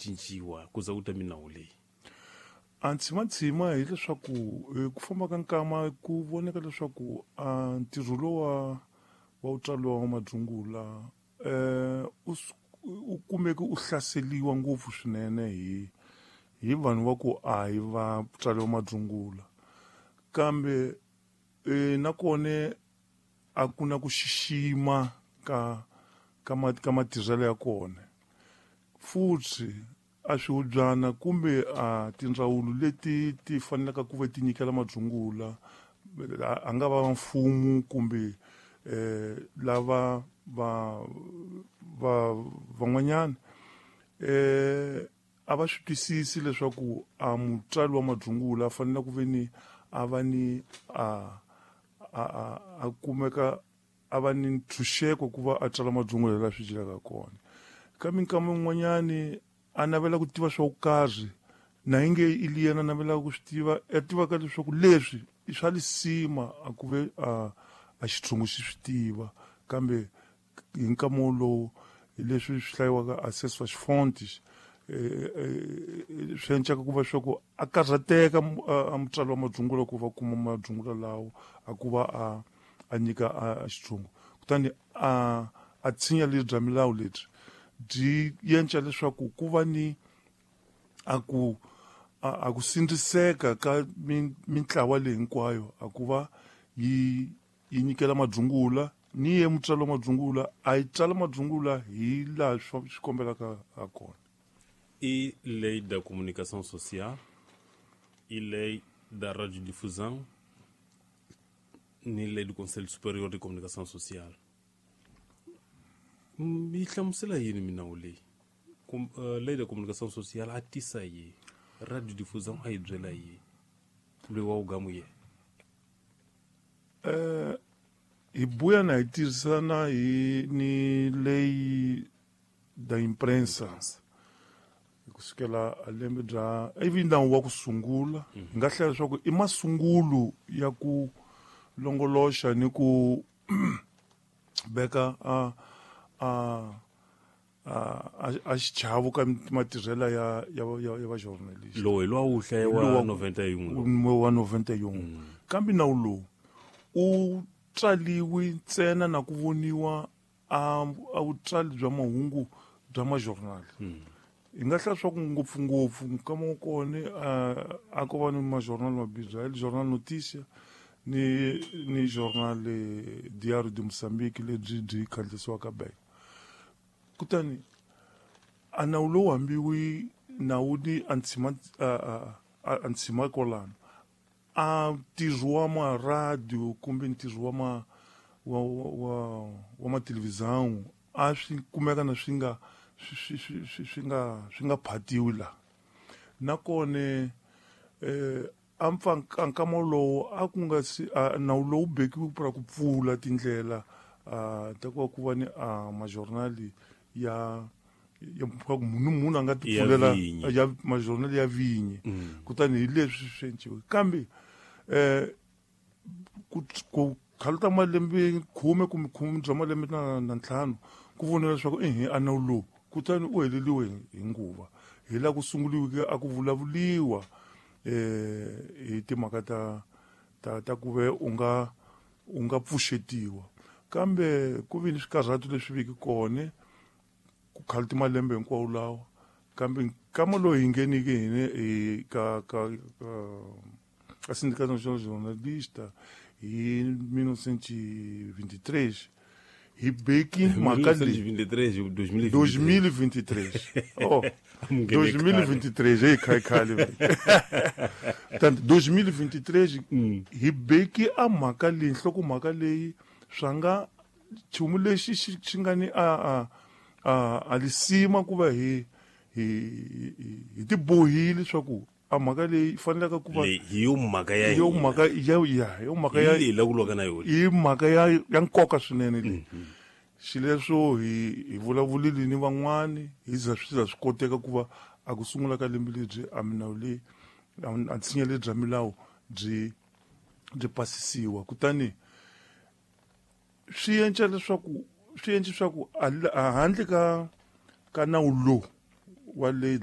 Cinciwa ku za ku ta minawu leyi. A ntshima hileswaku hi ku famba ka nkama ku voneka leswaku a ntirho lowa wa ku tswariwa wa madzungula u kumeke u hlaseriwa ngopfu swinene hi vanhu va ku a hi va tswariwa madzungula, kambe nakona a ku na ku xixima ka matirhelo ya kona. Futhi a swihubyana kumbe a tindzawulo leti ti faneleke ku va ti nyikela madzungula, a nga va mfumo kumbe lava va van'wanyana, a va swi twisisi leswaku a mutswari wa madzungula a fanele ku ve ni a va ni a kumeka a va ni ntshunxeko ku va a tswala madzungula laha swi dyelaka kona. Ka minkama yin'wanyani a navela ku tiva swa ku karhi na inge i yena a navelaka ku swi tiva, a tivaka leswaku leswi i swa lisima a ku ve a xitshungu xi swi tiva, kambe hi nkama wolowo hi leswi swi hlayiwaka acesso às fontes, swi encaka ku va swa ku a karhateka a mutswari wa madzungula ku va kuma madzungula lawo a ku va a nyika a xitshungu. Kutani a tshinya lebyi bya milawu lebyi byi yenca leswaku ku va ni a ku sindziseka ka mintlawa leyi hinkwayo a ku va yi nyikela madzungula, ni ye mutswari wa madzungula a yi tsala madzungula hi laha swi kombelaka ha kona. I lei da comunicação social, e lei da radiodifusão, ni lei do Conselho Superior de Comunicação Social. Yi hlamusela yini minawu leyi? Lei da comunicação social a tisa yi, radiodifusão a yi byela yi, loyi wa ugamu ye. Hi buya na hi tirhisana hi ni lei da imprensa kusukela a lembe bya ivi nawu wa ku sungula, hi nga hlaya leswaku i masungulo ya ku longoloxa ni ku veka a xichavo ka matirhelo ya va journalist. Lowu hi lowa wu hlaya wa 91. Wa 91. Kambe nawu lowu u tswaliwi ntsena na ku voniwa a vutswali bya mahungu bya majournal. Hi nga hlaya swa ku ngopfungopfu nkama wa kona a ko va ni majournal mabirhi, el Jornal Notícia ni Jornal Diário de Moçambique lebyi byi khandziyisiwaka beka. Kutani a nawu lowu hambiwi nawu ni a ntshima kwalano a ntirho wa ma radio kumbe ntirho wa ma wa wa wa matelevisão a swi kumeka na swi nga swi nga phatiwi la. Nakona a nkama lowu a ku nga si nawu lowu bekiwi pra ku pfula tindlela ta ku va ku va ni majournal ya munhu a nga ti pfulela ya majournal ya vinyi. Kutani hi leswi swi enciwe. Kambe ku khaluta malembe 10 kumbe 10 bya malembe na 5 ku voniwa leswaku a nawu lowu kutani u heleliwe hi nguva, hi laha ku sunguliweke a ku vulavuliwa hi timhaka ta ku ve u nga pfuxetiwa. Kambe ku vi ni swikarhato leswi viki kona ku khaluti malembe hinkwawo lawa, kambe nkama lowu hi ngheniki hina ka Sindicato Nacional de Jornalista hi 1923 hi beki mhaka leyi 2023. Oh, 2023 hey khale. Tanto 2023 hi beki a mhaka leyi, nhloko mhaka leyi swa nga nchumu lexi xi nga ni a lisima ku va hi tibohile leswaku a mhaka leyi fanelaka ku va hi yo mhaka ya yo mhaka ya yo mhaka ya leyi la ku lwaka na yona, i mhaka ya nkoka swinene leyi. Xileswo hi vulavulile ni van'wani hi za swi za swi koteka ku va a ku sungula ka lembe lebyi a minawu leyi a ntshinya lebyi bya milawu byi pasisiwa. Kutani swi enca leswaku swi endla leswaku handle ka nawu lowu wa lei da